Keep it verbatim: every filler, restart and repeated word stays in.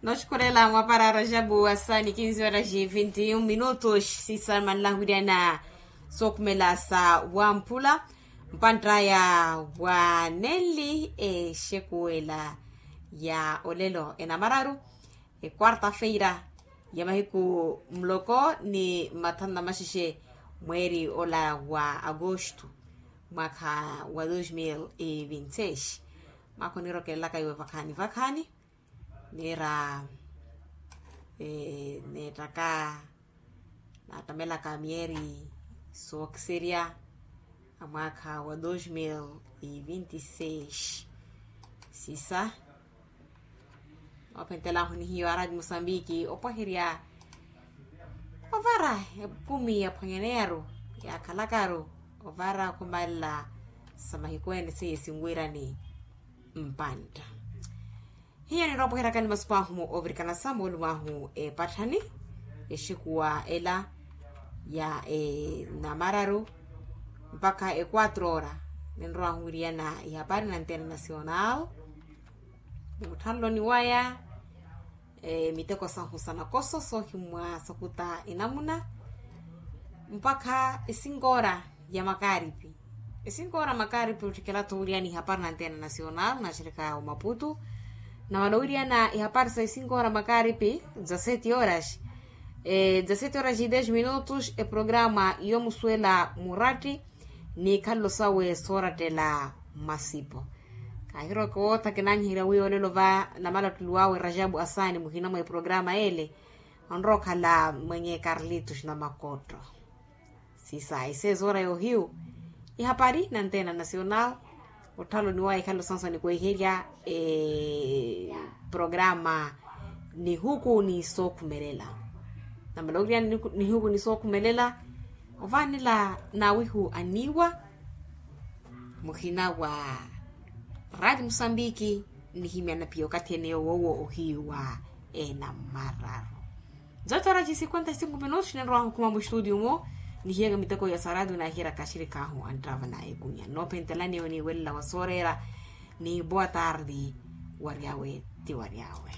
Noxikolela mwapara rajabu wa saa ni kinzi horas e vinti minutos sisa manlahuryana sookhumela sa wamphula. Mpantta ya wa nelli exekuwela ya olelo enamararu, ekwarta-feira ya mahiku muloko ni mathanu na maxexe mweeri ola wa agosto, mwakha wa dos mil e vinti seis. Mwakha onirokelelaka iwe vakhaani vakhaani. Niira neettaka naatamelaka myeeri sookiserya a mwaakha wa dos mil e vinti seis. Sisa noophentelaahu ni hiyo aradi musambiki opwaherya ovara ekumi yaphwanyaneyaru yaakhalakaru ovara khumalela sa mahiku ene seiye sinwirani mpantta. Hiyo niroopweheryakani masuku ahu mu ovirikana sa moolumo ahu epatthani exikuwa ela ya enamararu mpakha equatro ora. Ninrowahu wiriyana ihapari na antena nacional ni mutthanloni waya miteko sahu sa nakoso soohimmwa sakuta enamuna mpakha esinkoora ya makaaripi. Esinkoora makaaripi otthikela-tho wiriyana ihapari na antena nacional naxirika omaputu. Nawala wiriyana ihapari sa esinkoora makaaripi dza seti horas dza seti horas e des minutos eprograma yomusuwela muratti ni ikhalelo sawe soorattela masipo. Kaahiroka owootha kinanyiherya wi olelo va namalattulu awe rajabu asaani muhina mwa eprograma ele onrowa okhala mwenye karlitos na makotto. Sisa esezoora yohiyu ihapari na antena nacional otthalo ni waikhalelo sansoni kweherya eprograma nihuku ni sookhumelela. Namala owiryana nihuku ni sookhumelela ovaanela nawihu aniiwa muhina wa radi musambiki. Nihimyana piya okathi ene yoowo ohiyu wa enamararu. Zotora ci cinquenta e cinco minutos ninrowahu okhuma mustudio omo nihiyaka miteko ya saradi nahiryaka axirikhahu anttava na ekunya noophentelani ewe niiwelela wa sooreera. Ni boa tardi waryawe ti waryawe.